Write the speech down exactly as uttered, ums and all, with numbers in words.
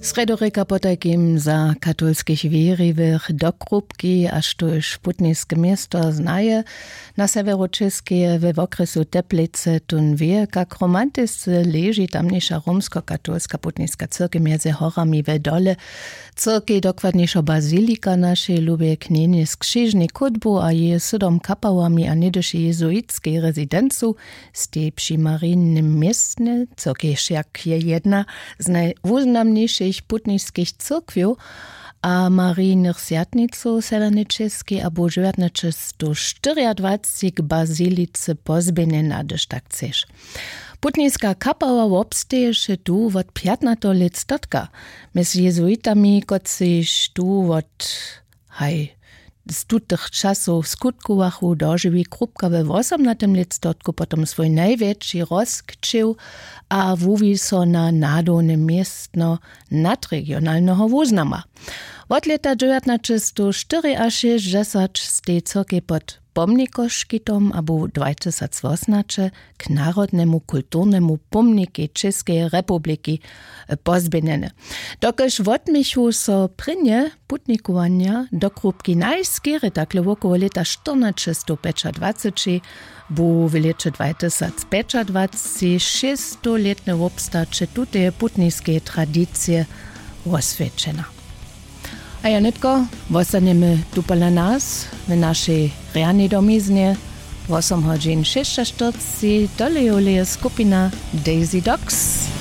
Srjedorěka potajkim za katolskich wěriwych do krupki a štóž putniske město znaje, na sewjeru čěskeje we wokrjesu teplice tón wě, kak romantisce leži tamniša romskokatolska putniska cyrkej mjeze horami we dole. Cyrkej dokładnišo bazilika našej lubje knjenje z křižnej kódbu a jeje sydom kapałami a něhdyšej jezuitskej rezidencu, stej při marijnym městnje, cyrkej wšak je jedna z najwuznamnišich putniskich cyrkwjow a marijnych swjatnicow w sewjernej čěskej a bu dźewjatnaćestowštyriadwaceći k bazilice pozběhnjena hdyž tak chceš. Putniska kapała wobsteješe tu wot pjatnateho lětstotka, mjez jezuitami kotřiž tu wot haj z tutych časow skutkowachu, dožiwi krupka we wosomnatym lětstotku potom swój najwjetši rozkćěw a wuwi so na nadowne městno nadregionalneho wuznama. Wot lěta dźewjatnaćestowštyriašěsćdźesat stej cyrkej pod pomnikoškitom a bu dwatysacwosomnaće k narodnemu kulturnemu pomnikej Čěskeje republiki pozběhnjene. Dokelž wotměchu so prěnje putnikowanja do krupki najskerje takle wokoło lěta štyrnaćestowpjećadwaceći, bu w lěće dwatysacpjećadwaceći šěsćstowlětne wobstaće tuteje putniskeje tradicije woswjećena. A ja nětko wostanjemy tu pola nas w našej rjanej domiznje. Wosom hodźin šěsćaštyrceći tolejoleje skupina Daisy Dogs.